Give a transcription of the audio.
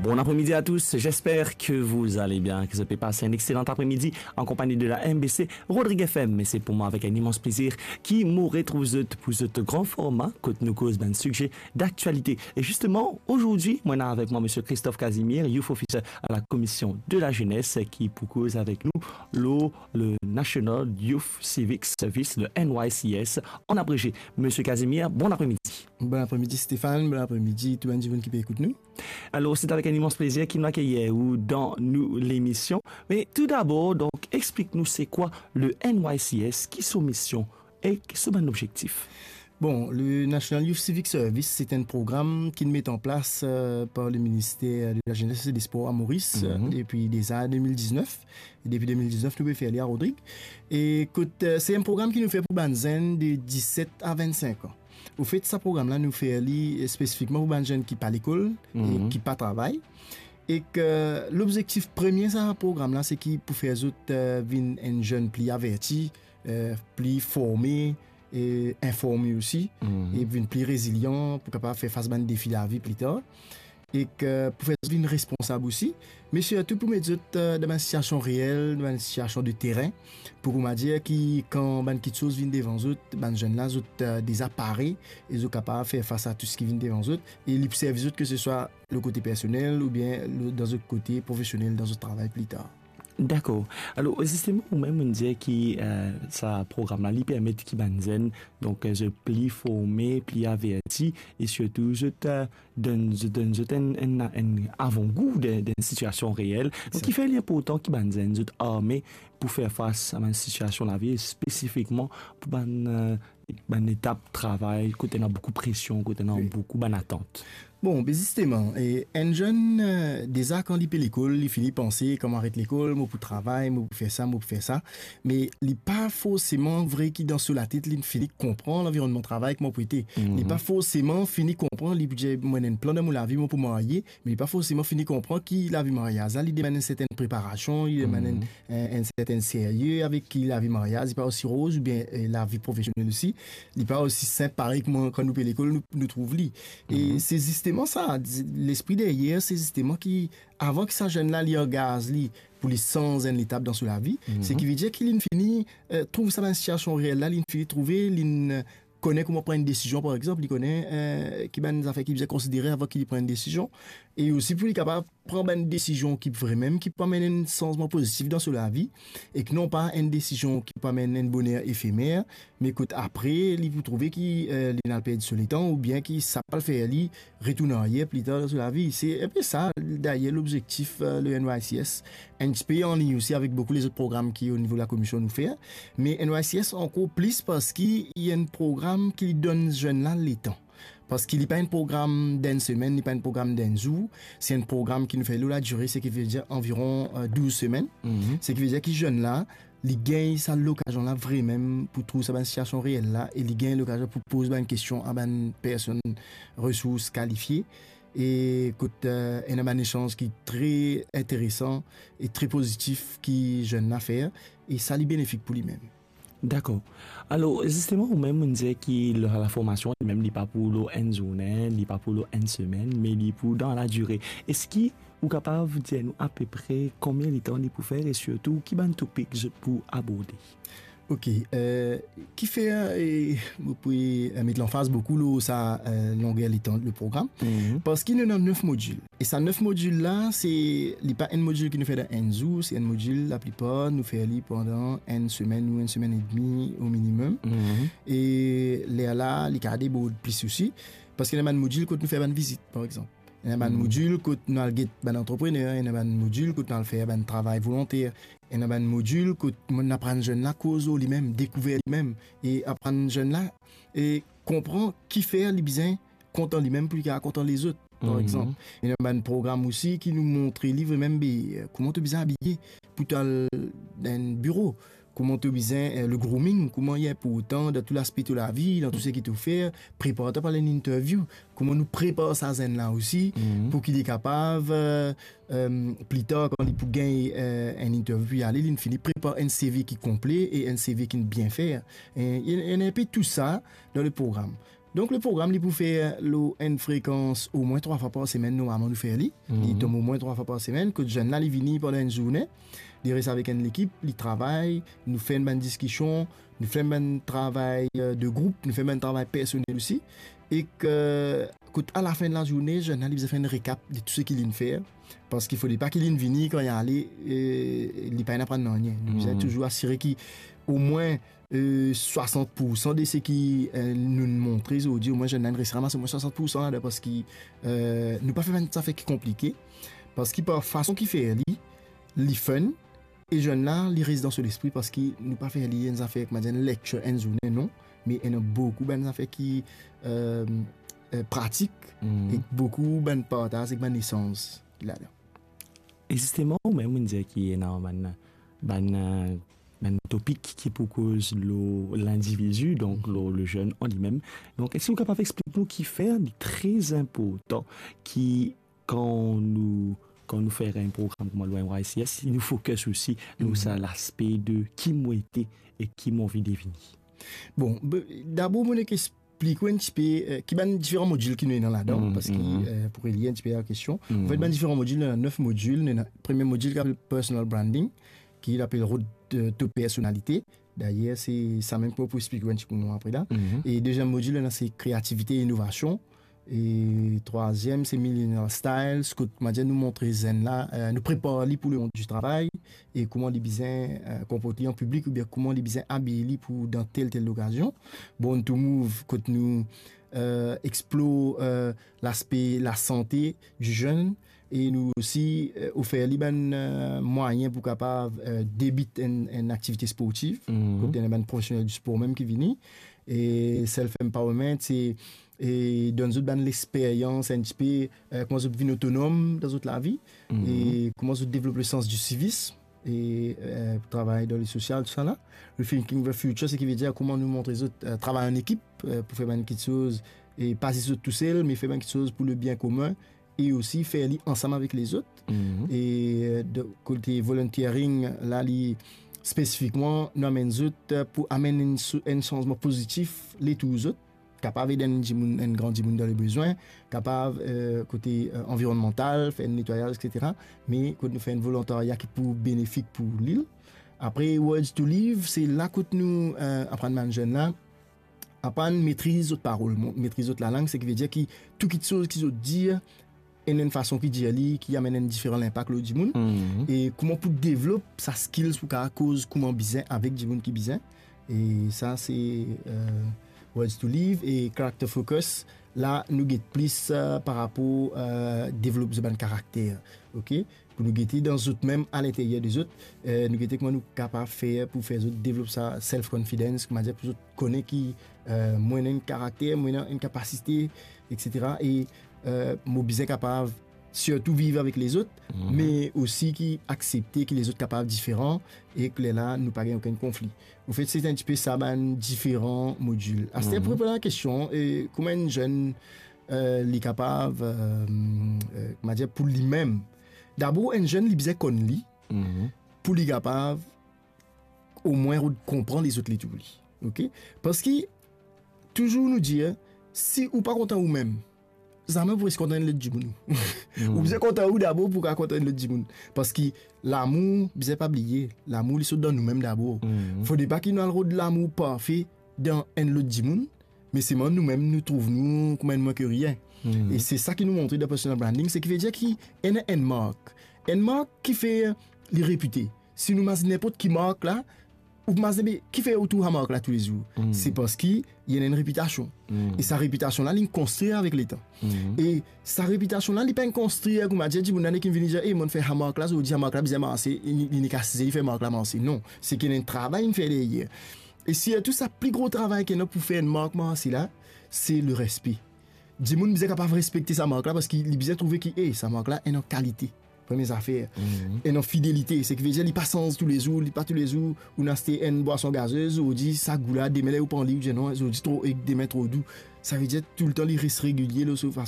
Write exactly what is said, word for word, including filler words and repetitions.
Bon après-midi à tous, j'espère que vous allez bien, que zot pe passe un excellent après-midi en compagnie de la M B C Rodrigue F M. Et c'est pour moi avec un immense plaisir ki mo retrouv zot pou zot gran forma kot nou koz bann size d'aktialite. E zisteman, azordi, mo ena avek mwa Msye Christophe Casimir, Youth Officer à la Commission de la Jeunesse, ki pou koz avek nou lor le National Youth Civic Service, le N Y C S en abrégé. Msye Casimir, bon après-midi. Bon après-midi Stéphane, bon après-midi tou bann dimoun ki pe ekout nou. Alors, c'est avec un immense plaisir ki nou akeyir ou dan nou lemision. Mais tout d'abord, donc, explique-nous c'est quoi le N Y C S, ki so mision ek so bann lobzektif. Bon, le National Youth Civic Service, c'est un programme ki met en place, euh, par le ministère de la Jeunesse et des Sports à Maurice, Mhm. euh, depuis déjà deux mille dix-neuf. Et depuis deux mille dix-neuf, nou pe fer li a Rodrig. E kot, euh, c'est un programme ki nou fer pou bann zenn de dix-sept à vingt-cinq ans. Anfet, sa program la, nou fer li, euh, spesifikman pou bann zenn ki pa lekol e Mhm. ki pa travay. E ke lobzektif premie sa program la, se ki pou fer zot, euh, vinn enn zenn pli averti, euh, pli forme, e informe osi, Mhm. e vinn pli rezilian pou kapav fer fas bann defi lavi pli tar. E ke pou fer zot vinn responsab osi, me sirtou pou met zot, euh, dan bann sitiasion reel, dan bann sitiasion de terin, pou koumadir ki kan bann kiksoz vinn devan zot, bann zenn la, zot, euh, deza pare, e zot kapav fer fas a tou seki vinn devan zot, e li pou servi zot ke se swa le kote personel oubien le, dan zot kote profesionel, dan zot travay pli tar. Dakor. Alor, zisteman, ou mem, ou dir ki, euh, sa program la, li permet ki bann zenn, donk, euh, zot pli forme, pli averti, e sirtou zot, euh, donn, zot donn zot enn, enn, enn avangou de, de sitiasion reel. Donk, Sa. Ki fer li inportan ki bann zenn, zot arme pou fer fas a bann sitiasion lavi, e spesifikman pou bann, euh, bann etap travay, kot ena boukou presion, kot ena Wi. boukou bann atant. Bon, be zisteman, e enn zenn, euh, deza kan li pe lekol, li fini panse, kan mo aret lekol, mo pou travay, mo pou fer sa, mo pou fer sa. Me li pa forseman vre ki dan so latet, li fini konpran lanvironnman travay kouma pou ete. Mhm. Li pa forseman fini konpran, li pou dir, mo ena enn plan dan mo lavi, mo pou marye, me li pa forseman fini konpran ki lavi maryaz la, li demann enn sertenn preparasion, li demann enn, Mhm. enn, enn sertenn serye avek ki lavi maryaz, li pa osi roz, oubien, eh, lavi profesionel osi, li pa osi sinp parey kouma kan nou pe lekol, nou, nou trouv li. E Mhm. se zisteman sa, di-, lespri deryer, se zisteman ki, avan ki sa zenn la, li angaz li pou li sanz enn letap dan so lavi, Mhm. se ki vedir ki li fini, eh, trouv sa bann sitiasion reel la, li fini trouve, li kone kouma pran enn desizion, par exanp, li kone, eh, ki bann zafer ki bizin konsidere avan ki li pran enn desizion, e osi pou li kapav pran bann desizion ki vremem, ki pou amenn enn sanzman pozitif dan so lavi, ek non pa enn desizion ki pou amenn enn boner efemer, me kot apre, li pou trouve ki, eh, li al perdi so letan, oubien ki sa pral fer li retourn aryer pli tar dan so lavi. Se inpe sa, dayer, lobzektif, eh, le N Y C S. Enn tipe anlign osi avek boukou lezot program ki o nivo lakomision nou fer. Me N Y C S ankor plis parski li enn program ki donn zenn la letan. Parski li pa enn program d'enn semenn, li pa enn program d'enn zour. Se enn program ki nou fer lor ladire, seki vedir anviron, eh, douz semenn. Mhm. Seki vedir ki zenn la, li gagn sa lokazion la vremem pou trouv sa bann sitiasion reel la, e li gagn lokazion pou poz bann kestion a bann personn resours kalifie, e kot, eh, ena bann esanz ki tre interesan e tre pozitif ki zenn la fer, e sa li benefik pou limem. Dakor. Alor, zisteman, ou mem, ou dir ki la, la formasion, limem, li pa pou lor enn zourne, li pa pou lor enn semenn, me li pou dan ladire. Eski ou kapav dir nou apepre konbien letan li pou fer e sirtou ki bann topik zot pou aborde? Ok, eh, ki fer, eh, mo pou, eh, met lanfaz boukou lor sa, eh, longer letan le program. Mhm. Parski nou ena nef modil. E sa nef modil la, se, li pa enn modil ki nou fer dan enn zour, se enn modil, laplipar, nou fer li pandan enn semenn ou enn semenn edmi o minimem. Mhm. E lerla, li kapav debord plis osi, parski ena bann modil kot nou fer bann vizit, par exanp. Ena bann Hmm. modil kot nou al get bann antreprener, ena bann modil kot nou al fer bann travay volonter, ena bann modil kot nou aprann zenn la koz lor limem, dekouver limem, e aprann zenn la, e konpran kifer li bizin kontan limem pou li kapav kontan lezot, par Hmm. exanp. Ena bann program osi ki nou montre li vremem, be, kouma to bizin abiye pou to al dan enn biro. Kouma to bizin, eh, le grooming, kouma li inportan dan tou laspe to lavi, dan tou seki to fer, prepar twa pou al enn interview. Kouma nou prepar sa zenn la osi, Mhm. pou ki li kapav, eh, eh, pli tar, kan li pou gagn, eh, enn interview pou li ale, li fini prepar enn C V ki konple e enn C V ki bien fer. E, e, e enn pe tou sa dan le program. Donk, le program, li pou fer lor enn frekans omwin trwa fwa par semenn, normalman, nou fer li. Li Mhm. tom omwin trwa fwa par semenn, kot zenn la, li vini pandan enn zourne, li res avek enn lekip, li travay, nou fer enn bann diskision, nou fer enn bann travay, euh, de group, nou fer enn bann travay personel osi, ek, euh, kot alafin de lazourne, zenn la, li bizin fer enn rekap de tou seki li'nn fer, parski fode pa ki li'nn vini, kan li ale, euh, li pa inn aprann nanye. Nou bizin Mhm. touzour asire ki omwin, euh, swasant poursan de seki, euh, nou'nn montre zordi, omwin zenn la inn res ramas omwin swasant poursan ladan, parski, euh, nou pa fer bann zafer ki konplike, parski par fason ki fer li, li fun, e zenn la, li res dan so lespri, parski nou pa fer li enn zafer, kouma dir, enn lecture, enn zourne, non, me ena boukou bann zafer ki, euh, euh, pratik, Mhm. ek boukou bann partaz, ek bann esanz ki ladan. E zisteman, ou mem, ou dir ki ena bann, bann, euh, bann topik ki pou koz lor lindividi, donk Mhm. lor le zenn an limem. Donk, eski ou kapav explik nou kifer li tre inportan ki kan nou, kan nou fer enn program kouma le Y Y C S, si nou focus osi lor Mhm. sa laspe de ki mo ete e ki mo anvi devini? Bon, be-, dabor, mo nek explik ou enn tipe, euh, ki bann diferan modil ki nou ena ladan, Mhm, parski, mhm. euh, pou relie enn tipe la kestion. Mhm. Anfet, bann diferan modil, ena nef modil. Nou ena premie modil ki apel personal branding, ki apel Road, euh, to Personalite. Dayer, se sa mem ki mo pou explik ou enn tipe apre la. Mhm. E deziem modil, ena se kreativite e inovasion. E trwaziem, se millennial styles, kot, kouma dir, nou montre zenn la, euh, nou prepar li pou le mond di travay, e kouma li bizin, euh, konport li an piblik, oubien kouma li bizin abiy li pou dan tel, tel lokazion. Born to Move, kot nou, euh, explore, euh, laspe lasante di zenn, e nou osi, euh, ofer li bann, euh, mwayin pou kapav, euh, debit enn, enn aktivite sportiv, Mhm. kot ena bann profesionel di spor mem ki vini. E self empowerment, se, e donn zot bann lexperyans enn tipe, euh, kouma zot vinn otonom dan zot lavi, Mhm. e kouma zot devlop le sans di sivism, e, euh, travay dan le sosial, tousala. Rethinking the future, seki vedir kouma nou montre zot, euh, travay an ekip, euh, pou fer bann kiksoz, e pa zis zot tousel, me fer bann kiksoz pou le bien komin, e osi fer li ansam avek lezot. Mhm. E, euh, de kote volunteering, la, li spesifikman, nou amenn zot, euh, pou amenn enn so-, enn sanzman pozitif letour zot, kapav ed enn dimoun, enn gran dimoun dan le bezwin, kapav, euh, kote, euh, anvironnmantal, fer enn netwayaz, et cetera. Me kot nou fer enn volontarya ki pou benefik pou lil. Apre, Words to Live, se la kot nou, euh, aprann bann zenn la, aprann metriz zot parol, mo-, metriz zot lalang, seki vedir ki tou kiksoz ki zot dir, ena enn fason ki dir li, ki amenn enn diferan linpak lor dimoun. Mhm. E kouma pou devlop sa skills pou kapav koz kouma bizin avek dimoun ki bizin. E sa, se, euh, Words to Live e Character Focus. La, nou get plis, euh, par rapor, euh, devlop zot bann karakter, ok? Pou nou gete dan zot mem, alinteryer de zot, euh, nou gete kouma nou kapav fer pou fer zot devlop sa self-confidence, kouma dir, pou zot kone ki, euh, mo ena enn karakter, mo ena enn kapasite, et cetera. E, euh, mo bizin kapav sirtou viv avek lezot, Mhm. me osi ki aksepte ki lezot kapav diferan, e ki lerla nou pa gagn okenn konfli. Anfet, se enn tipe sa bann diferan modil. Aster, Mhm. pou reponn a la kestion, e kouma enn zenn, euh, li kapav, euh, euh, kouma dir, pou limem. Dabor, enn zenn, li bizin konn li, Mhm. pou li kapav omwin rod-, konpran lezot letour li. Ok? Parski, touzour nou dir, si ou pa kontan oumem, zame ou pou res kontan enn lot dimoun. Hmm. Ou bizin kontan ou dabor pou kapav kontan enn lot dimoun. Parski lamour, bizin pa bliye, lamour li sot dan noumem dabor. Hmm. Fode pa ki nou al rod lamour parfe dan enn lot dimoun, me selman noumem nou trouv nou kouma enn mwin ke rien. Hmm. E se sa ki nou montre dan personal branding, seki vedir ki ena enn mark. Enn mark ki fer li repite. Si nou mazinn ninport ki mark la, ou mazinn, be, ki fer ou trouv sa mark la toulezour? Hmm. Se parski li ena enn repitasion. Hmm. E sa repitasion la, li konstrir avek letan. Hmm. E sa repitasion la, li pa konstrir, kouma dir, dimoun la nek vinn vini dir, "E, mo'nn fer sa mark la, zordi sa mark la bizin marse, li, li nek asize, li fer mark la marse." Non, seki ena enn travay inn fer deryer. E sirtou sa pli gro travay ki ena pou fer enn mark marse la, se le respe. Dimoun bizin kapav respekte sa mark la, parski li bizin trouve ki, e, sa mark la ena kalite. Premie zafer. Mhm. Ena fidelite, seki vedir li pa sanz toulezour, li pa toulezour ou inn aste enn bwason gazez, ou dir sa gou la, demin ler ou pran li, ou dir non, ou dir tro ek, demin tro dou. Sa vedir toultan li res regilie lor so